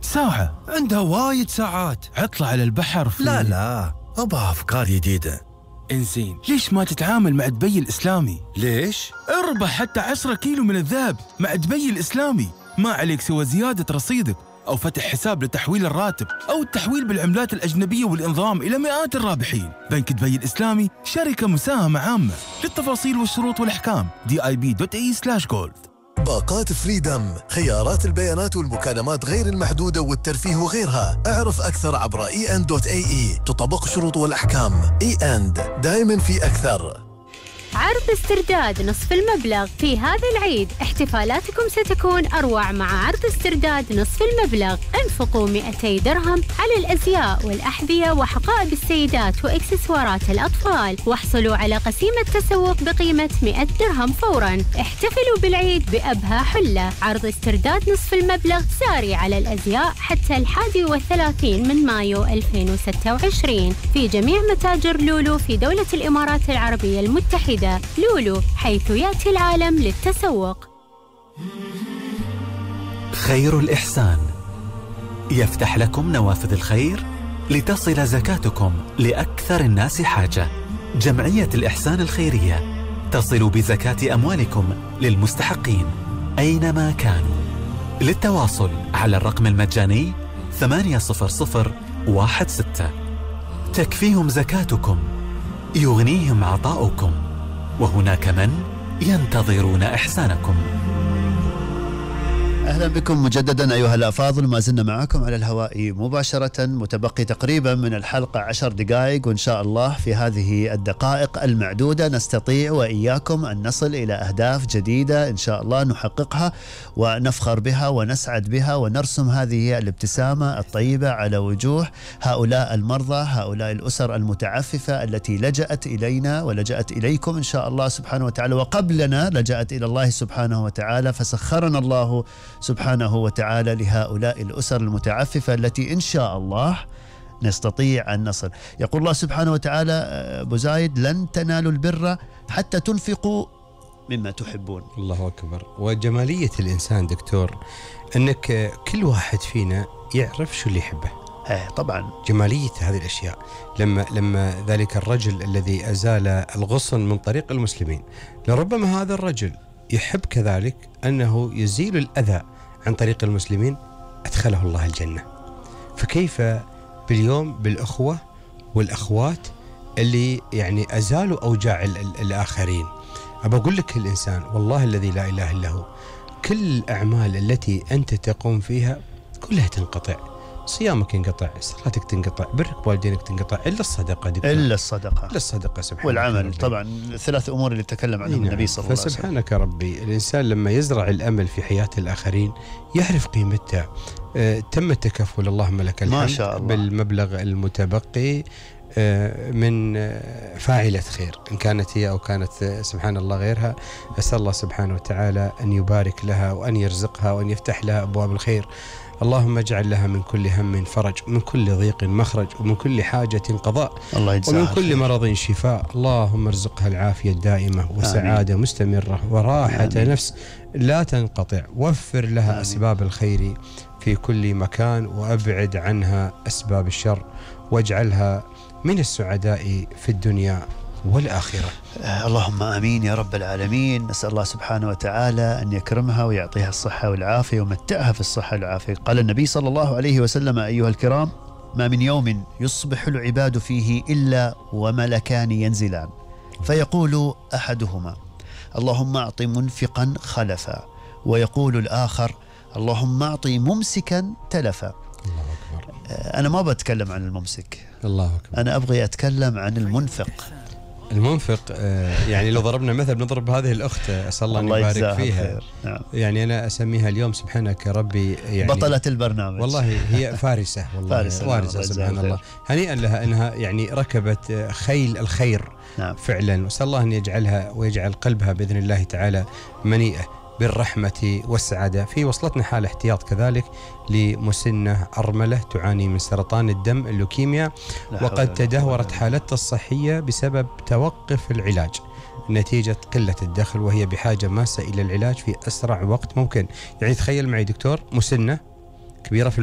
ساعة عندها وايد ساعات، عطلة على البحر في لا أبغى أفكار جديدة. إنزين ليش ما تتعامل مع دبي الإسلامي؟ ليش؟ اربح حتى 10 كيلو من الذهب مع دبي الإسلامي، ما عليك سوى زيادة رصيدك أو فتح حساب لتحويل الراتب أو التحويل بالعملات الأجنبية والإنضمام إلى مئات الرابحين. بنك دبي الإسلامي شركة مساهمة عامة. للتفاصيل والشروط والأحكام dib.ae/gold. باقات فريدم، خيارات البيانات والمكالمات غير المحدودة والترفيه وغيرها. اعرف أكثر عبر en.ae. تطبق الشروط والأحكام. e&, دائما في أكثر. عرض استرداد نصف المبلغ في هذا العيد. احتفالاتكم ستكون أروع مع عرض استرداد نصف المبلغ. انفقوا 200 درهم على الأزياء والأحذية وحقائب السيدات وإكسسوارات الأطفال، واحصلوا على قسيمة تسوق بقيمة 100 درهم فوراً. احتفلوا بالعيد بأبهى حلة. عرض استرداد نصف المبلغ ساري على الأزياء حتى 31 من مايو 2026 في جميع متاجر لولو في دولة الإمارات العربية المتحدة. لولو، حيث يأتي العالم للتسوق. خير الإحسان يفتح لكم نوافذ الخير لتصل زكاتكم لأكثر الناس حاجة. جمعية الإحسان الخيرية تصل بزكاة أموالكم للمستحقين أينما كانوا. للتواصل على الرقم المجاني 80016. تكفيهم زكاتكم، يغنيهم عطاؤكم، وهناك من ينتظرون إحسانكم. أهلا بكم مجددا أيها الأفاضل، ما زلنا معكم على الهواء مباشرة. متبقي تقريبا من الحلقة 10 دقائق، وإن شاء الله في هذه الدقائق المعدودة نستطيع وإياكم أن نصل إلى أهداف جديدة إن شاء الله نحققها ونفخر بها ونسعد بها ونرسم هذه الابتسامة الطيبة على وجوه هؤلاء المرضى، هؤلاء الأسر المتعففة التي لجأت إلينا ولجأت إليكم إن شاء الله سبحانه وتعالى، وقبلنا لجأت إلى الله سبحانه وتعالى، فسخرنا الله سبحانه وتعالى لهؤلاء الأسر المتعففة التي إن شاء الله نستطيع أن نصل. يقول الله سبحانه وتعالى أبو زايد: لن تنالوا البر حتى تنفقوا مما تحبون. الله أكبر. وجمالية الإنسان دكتور أنك كل واحد فينا يعرف شو اللي يحبه. طبعا جمالية هذه الأشياء لما ذلك الرجل الذي أزال الغصن من طريق المسلمين، لربما هذا الرجل يحب كذلك أنه يزيل الأذى عن طريق المسلمين، أدخله الله الجنة. فكيف باليوم بالأخوة والأخوات اللي يعني أزالوا أوجاع الآخرين؟ أبى أقول لك الإنسان والله الذي لا إله إلا هو، كل الأعمال التي أنت تقوم فيها كلها تنقطع. صيامك ينقطع، صلاتك تنقطع، برك بوالدينك تنقطع، إلا الصدقة دكتور. إلا الصدقة سبحانك والعمل طبعا، الثلاث أمور اللي تكلم عنهم النبي صلى الله عليه وسلم. فسبحانك ربي، الإنسان لما يزرع الأمل في حياة الآخرين يعرف قيمتها. تم التكفل اللهم لك الحمد ما شاء الله بالمبلغ المتبقي من فاعلة خير، إن كانت هي أو كانت سبحان الله غيرها. أسأل الله سبحانه وتعالى أن يبارك لها وأن يرزقها وأن يفتح لها أبواب الخير. اللهم اجعل لها من كل هم فرج، ومن كل ضيق مخرج، ومن كل حاجة قضاء، ومن كل مرض شفاء. اللهم ارزقها العافية الدائمة وسعادة آمين. مستمرة وراحة آمين. نفس لا تنقطع. وفر لها آمين. أسباب الخير في كل مكان، وأبعد عنها أسباب الشر، واجعلها من السعداء في الدنيا والآخرة. اللهم آمين يا رب العالمين. نسأل الله سبحانه وتعالى أن يكرمها ويعطيها الصحة والعافية ومتعها في الصحة والعافية. قال النبي صلى الله عليه وسلم: أيها الكرام، ما من يوم يصبح العباد فيه إلا وملكان ينزلان، فيقول أحدهما: اللهم أعط منفقا خلفا، ويقول الآخر: اللهم أعط ممسكا تلفا. الله أكبر. أنا ما بتكلم عن الممسك، الله أكبر. أنا أبغي أتكلم عن المنفق. المنفق يعني لو ضربنا مثل بنضرب هذه الأخت، أسأل الله أن يبارك فيها. نعم. يعني أنا أسميها اليوم سبحانك يا ربي يعني بطلة البرنامج والله، هي فارسة والله، فارسة سبحان الله. هنيئا لها أنها يعني ركبت خيل الخير. نعم. فعلا. وأسأل الله أن يجعلها ويجعل قلبها بإذن الله تعالى منيئة بالرحمة والسعادة. في وصلتنا حالة احتياط كذلك لمسنة أرملة تعاني من سرطان الدم اللوكيميا، وقد تدهورت حالتها الصحية بسبب توقف العلاج نتيجة قلة الدخل، وهي بحاجة ماسة إلى العلاج في أسرع وقت ممكن. يعني تخيل معي دكتور، مسنة كبيرة في